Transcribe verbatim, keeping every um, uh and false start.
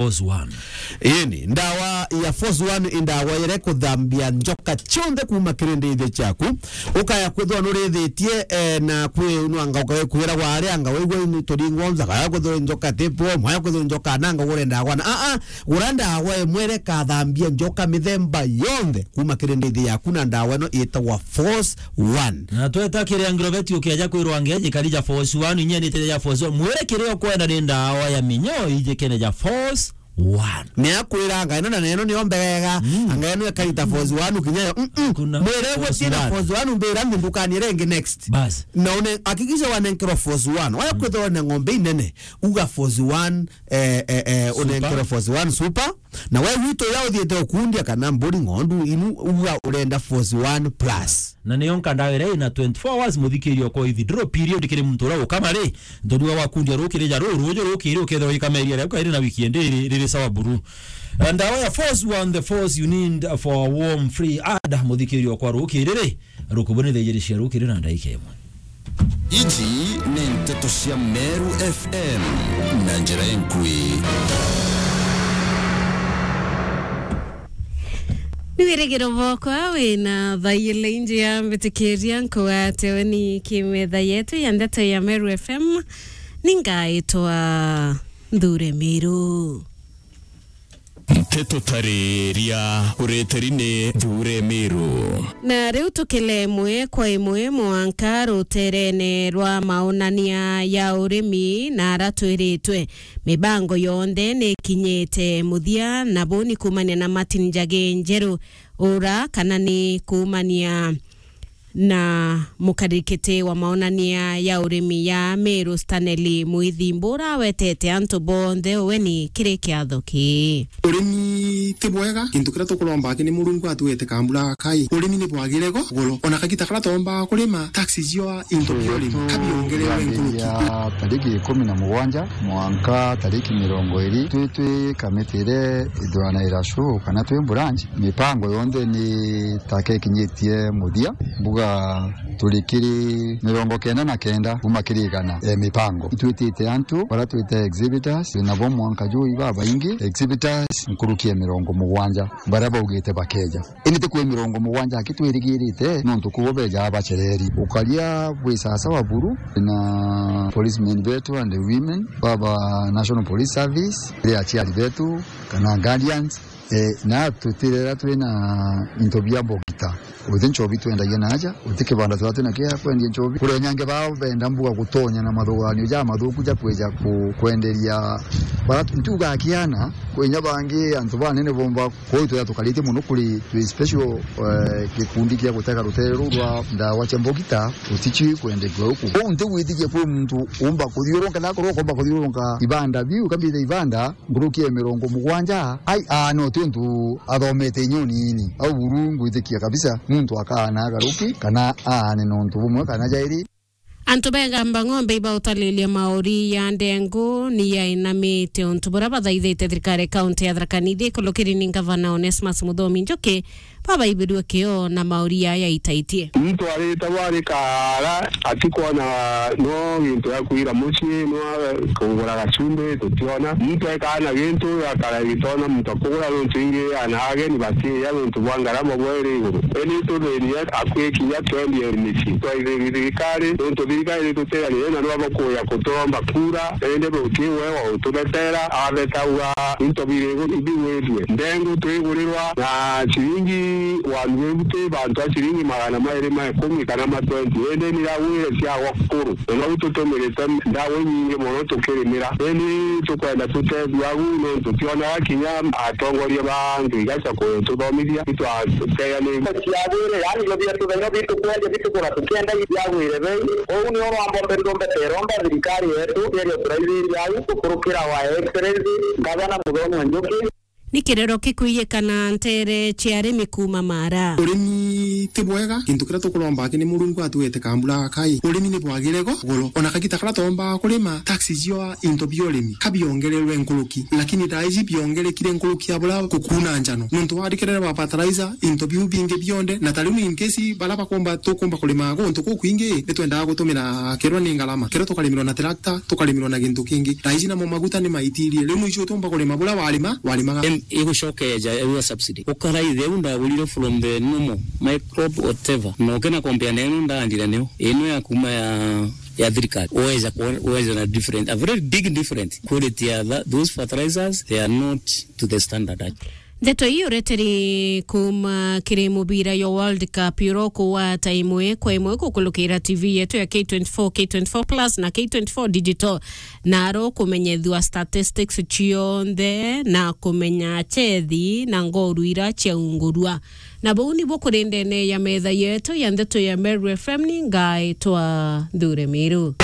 Force One. Ini, ndawa ya Force One i ndawa iria ikuthambia njoka cionthe kuuma kirindithio ciaku. Ukaya kwithirwa nurithitie, eh, na kwi nwanga ukakwira wari anga wigua ini turingwa nza, kaya kwithirwa njoka tipo, mwaya kwithirwa njoka nanga ugure ndawa na, a, a, gura ndawa imwe iria ikathambia njoka mithemba yonthe kuuma kirindithio yaku, na ndawa ino itagwa Force One. Na tweta kiria Agrovet ukeja kwirwa ngeji karija Force One, inya ni teja Force One. Mwire kiria ukwenda ni ndawa ya minyo ijikene ja Force One. Ni akwira anga ino na neno niyo mbegega, mm, anga ino ikarita Force One ukinya yo. Mm, mm. Kuna mwire Force One. Force One mbira nthi ndukani iria ingi next. Bas. Na une hakikisha wanenkerwa Force One. Waya kwithirwa na ng'ombe inene, uga Force One, eh, eh, eh, unenkerwa Force One Super. Na we wito ya uthiete ukundia kana mburi ng'ondu inu, uga urenda Force One Plus. Na niyo nka ndawa iria ina twenty-four hours muthikirio kwa withdraw period kiri muntu uria ukama ri, ndoriwa wakundia rukiri ja ruru ruju rukiri ukethirwa ikama iria riu kairi na wiki endi iri, riri sawa buru. Eh, ndawa ya Force One, the force you need for a warm free ad muthikirio kwa rukiri ri, rukubuni thaa ijiri cia rukiri na ndaika imwe. Iji ni nteto cia Meru F M na njira enkui. Ni wirigiro bwakwa wina thaile inji ya mbitikiria nkugate weni kimetha yetu ya ndeto ya Meru F M. Ningaitwa Nthure Miru. Nteto tariria ureteri ni Nthure Miru. Na riu tukile imwe kwa imwe mwanka ruterene rwa maonania ya urimi na ara twiritwe. Mibango yonthe ni ikinyite muthia, na buu ni kuumania na Martin Njagi Njeru ura kana ni kuumania na mukarikiti wa maonania ya urimi ya Meru Stanley Muithi Mbura wetete antu bonthe uweni kiri kiatho kii. Urimi ti bwega, gintu kiria tukuromba aki ni Murungu atwete kambura gakai. Urimi ni bwagire go goro, ona kagita karia twomba kurima, taxes cio into bia urimi kabiongerewe nkuruki. Tariki ikumi na mugwanja mwanka tariki mirongo iri, twi, twi kamiti iria ithuranaira show kana twi branch, mipango yonthe ni taka ikinyitie muthia, mbuga turi kiri mirongo kenda na kenda kuma kiri igana ya mipango. Itwitite antu baria twite exhibitors, twinabo mwanka juu ibabaingi, exhibitors nkuruki ya mirongo mugwanja baria baugite bakeja. Indi ti kwi mirongo mugwanja aki twirigirite, nontu kubo bejaa bacereri. Ukaria bwi sasawa buru na policemen betu and women, baba National Police Service, ri aciari betu, kana guardians, eh, na tutirera twina into bia mbogita. Uti nchobi twendagia naja, uti kibanda twira twina kia kwendia nchobi. Kuri nyange bao benda mbuga gutonya na mathuganio ja mathuku ja kwija ku-, kwenderia bara ntuga akiana, kwinya bangi antu banene bomba. Kwou twira tukaritie mono kuri twi special, eh, gikundi kia gutega rutere ruu rwa ndawa cia mbogita, uticii kwenderia uku. Kwou nti gwitikia kwi muntu umba kuthiurunka, na akorwo ukomba kuthiurunka ibanda biu, kambite ibanda, nkuruki ya mirongo mugwanja, ai, aa, no ti untu athomete inya unini. Au buru ngwitikia kabisa, muntu akaana agaruki, kana aane nontu bumwe kana jairi. Antu begamba ng'ombe ibautalilia mauri ya ndengu ni yainamite untu buria bathaithite thirikari kaunti ya Tharaka Nithi ikulukiri ni ngavana Onesmus Muthomi Njuki, babaibirue kio na mauri yaya itaitie. Muntu arita bwari kaara atikwona no gintu ya kwira mucii, no kugura gacumbi, tutiona. Muntu ekaa na gintu akara gitona muntu akugura, nontu ingi ana ageni batiiya nontu bwa ngarama bweri iguru. Indi tuthirie akwi kinya twendie micii. Twaithirie thirikari, nontu thirikari ituteganire na nwa bakuya kuturomba kura, indi buti we wa utubetera, abeta uga into biri iguru ibigwithue. Ndengu twigurirwa na ciringi one fifty, bantu a ciringi magana mairi ma ikumi kana ma twenty, indi niragwire ciagwa kuru. Na nau tutumirite ndawa inyingi mono tukirimira. Indi tukwenda tutethua agu, nontu tionaga kinya atongoria ba antu igaca kututhomithia, itwateganiri. Ciagwire, yani, irio bietu benyo bitukwendia bitukura tukienda ciagwire bei. Uu nio rwambo mbe ndombe teromba thirikari yetu, yeria turaithiria au, gukurukira wa Excellency Ngavana Muthomi Njuki. Ni kirero kikuiyikana ntere cia arimi kuuma Mara. Urimi ti bwega, gintu kiria tukuromba aki ni Murungu atuete kambura gakai. Urimi ni bwagire go goro, ona kagita karia twomba kurima, taxes cio into bia urimi ka biongererwe nkuruki, lakini thaa iji biongerekire nkuruki ya buria kukuuna njano. Nontu warikerere wa fertilizer, into biu bingi bionde, na ta riu in case baria bakomba, tukumba kurima guntu kukwingi, ni twendaga gutumira kerwa ni ngarama, kerwa tukarimirwa na tractor, tukarimirwa na gintu kingi. Thaa iji namo maguta ni maitirie. Riu mwicho utumba kurima buria warima, warimaga. Em, igucokeja ewe subsidy. Ukaraithe u ndagurire from the normal microbe whatever. Na ukena compare na ino ndaandire niyo. Ino ya kuma ya, ya thirikari. Uweza kuona, uweza na different, a very big different quality ya tha-, those fertilizers, they are not to the standard. Ndeto ii ureteri kuuma kiri mubira yo World Cup, uro kuwata imwe kwa imwe kukulukira T V yetu ya K twenty-four, K twenty-four Plus na K twenty-four Digital, na aro kumenyethua statistics cionthe na kumenya chethi na ngoru ira ciaungurua. Na bau nibo kuri ndene ya metha yetu ya ndeto ya Meru F M, ni ngaitwa Nthure Miru.